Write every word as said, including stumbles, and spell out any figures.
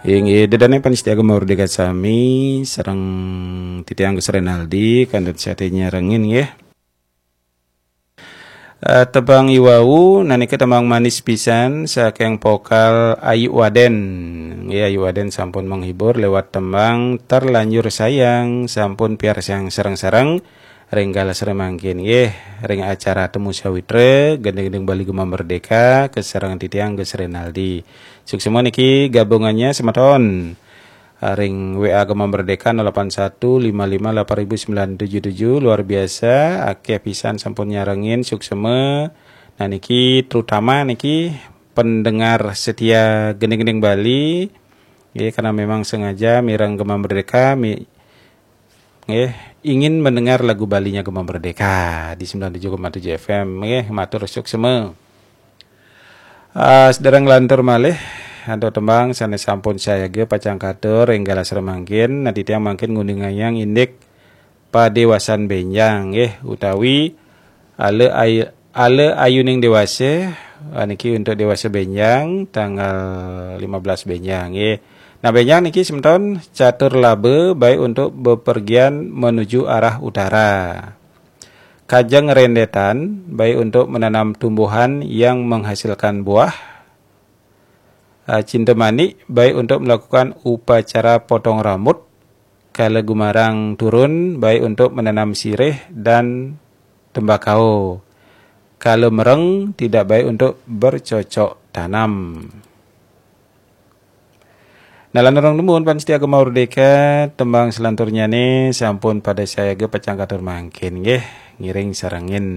Inggih, ida dané pamiarsa Gema Merdeka sami sareng titiang Gus Renaldi kantun satia nyarengin nggih. Eh, tembang iwau nanika tembang manis pisan saking vokal Ayu Waden. Nggih, Ayu Waden sampun menghibur lewat tembang Terlanjur Sayang, sampun piarsayang sareng-sareng ring galah sareng mangkin nggih, ring acara Temu Sawitra, gending-gending Bali Gema Merdeka, kasarengin titiang Gus Renaldi. Suksma niki gabungannya semeton. Ah, ring W A Gema Merdeka nol delapan satu lima lima delapan ribu sembilan tujuh tujuh, luar biasa, akeh pisan sampun nyarengin, suksma. Nah, niki terutama niki pendengar setia gending-gending Bali, nggih, karena memang sengaja mireng Gema Merdeka, mi-, nggih, ingin mendengar lagu Balinya Gema Merdeka di sembilan tujuh koma tujuh F M, nggih, matur suksma. Ah, sedereng lantur malih, antuk tembang sané sampun sayaga pacang katur ring galah sareng mangkin, nah titiang mangkin nguningayang indik padewasan bénjang, nggih, utawi ala ay-, ala ayuning dewasa, ah, niki untuk dewasa bénjang, tanggal lima belas bénjang, nggih. Nah, bénjang niki semeton catur laba baik untuk bepergian menuju arah utara. Kajeng rendetan baik untuk menanam tumbuhan yang menghasilkan buah. Ah, cinta manik baik untuk melakukan upacara potong rambut. Kala gumarang turun baik untuk menanam sirih dan tembakau. Kala mereng tidak baik untuk bercocok tanam. Nah, lanturang nuwun pamiarsa Gema Merdeka, tembang selanturnyané sampun pada sayaga pacang katur mangkin nggih, ngiring sarengin.